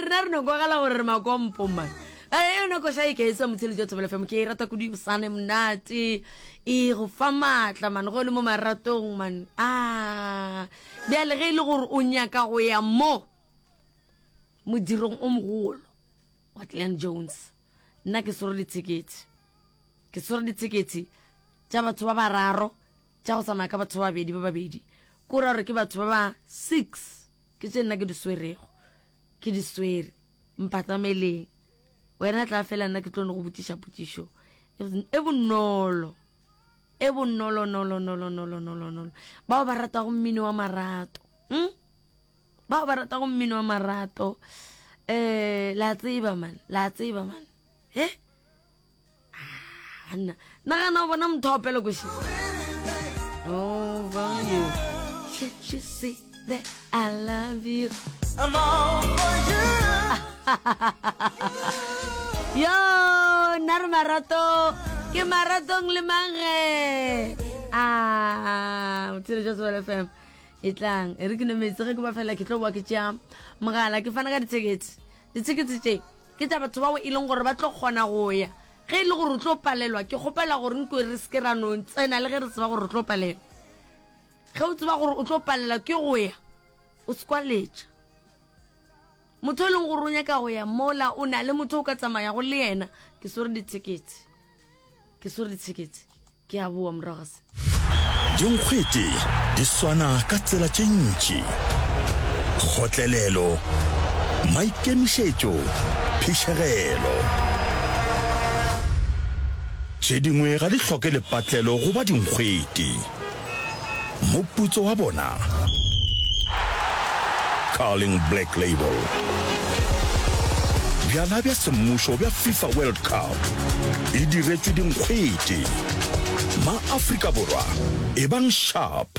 rena re no kwagala gore re makompo man. Eh, yona koša e ke e sa motsheletši wa Thobela FM ke e rata kudu bosane monate e go fa maatla man go le mo maratong man a bjale ge e le gore o nyaka go ya mo modirong o mogolo wa Glen Jones nna ke swere dithekethe ke swere dithekethe tša batho ba bararo tša go tsamaya ka batho ba babedi ba babedi ko ra gore ke batho ba ba six ke tše nna ke di swerego ke di swere mpatameleng wena tla fela nna ke tlo no go botšiša potšišo e bonolo e bonolo nolo nolo nolo nolo nolo bao ba ratago mmino wa marato hmm? bao ba ratago mmino wa marato um la tseba man la tseba man e Anna, nagana o bona motho a opela koši. Over you. Can't you see that I love you? I'm all for you. Yo, nna re marato. Ke maratong le mang ge? Ah, motsheletša Tswele FM. E tlang, e re ke nwe metsi ge ke ba fela ke tlo boa ke tšea mogala ke fana ka dithekete. Dithekete tše Ke tša batho bao e leng gore ba tlo kgona go ya. Ge e le gore o tlo palelwa, ke kgopela gore nko re se ke ra no tsena le ge re tseba gore o tlo palelwa. Ge o tseba gore o tlo palelwa ke go ya, o se kwa letša. Motho e leng gore o nyaka go ya mola o na le motho o ka tsamayago le yena, ke swere dithekete. Ke swere dithekete. Ke a boa morago ga se. Dinkgwete di swana ka tsela tše ntši, kgotlelelo, maikemišetšo, phišegelo. Tše dingwe ga di hloke lepatlelo go ba dinkgwete. Moputso wa bona? Carling Black Label. Bjala bja semmušo bja FIFA World Cup e diretšwe dinkgwete. Ma-Afrika Borwa, ebang sharp!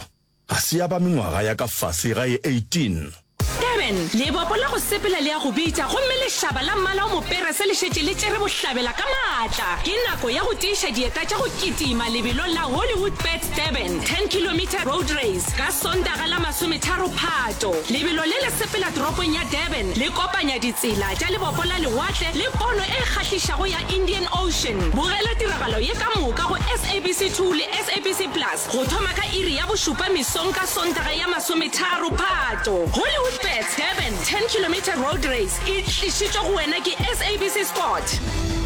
Ga se ya ba mengwaga ya ka fase ga e 18. Durban, Lebopo la go sepela le a go bitša gomme lešaba la mmala o moperese le šetše le tšere bohlabela ka maatla. Ke nako ya go tiiša dieta tša go kitima lebelong la Hollywoodbets Durban 10 Kilometre Road Race ka Sontaga la masometharo Phato. Lebelo le le sepela toropong ya Durban le kopanya ditsela tša lebopo la lewatle le pono e kgahlišago ya Indian Ocean. Bogela tiragalo ye ka moka go SABC 2 le SABC Plus. Go thoma ka iri ya bošupa mesong ka Sontaga ya masometharo Phato, Hollywoodbets Durban 10 Kilometre Road Race e tlišitšwe go wena ke SABC Sport.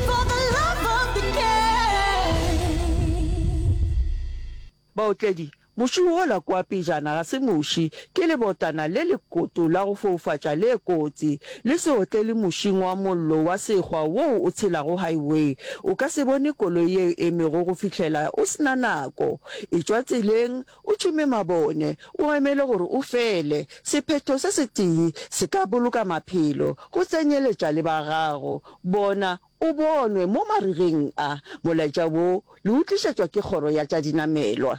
For the love of the game. Baotledi, Muši wola kua pejana ga se muši, ke lebotana le lekoto la go foufatša le kotsi. Le se otlele mušing wa mollo wa sekgwa woo o tshelago highway. O ka se bone koloi ye e emego go fihlela o se na nako. Etšwa tseleng, o tšhume mabone, o emele gore o fele. Sephetho se setee se ka boloka maphelo, go tsenyeletša le ba gago. Bona o bonwe mo marigeng a. Molaetša wo le o tlišetšwa ke Kgoro ya tša Dinamelwa.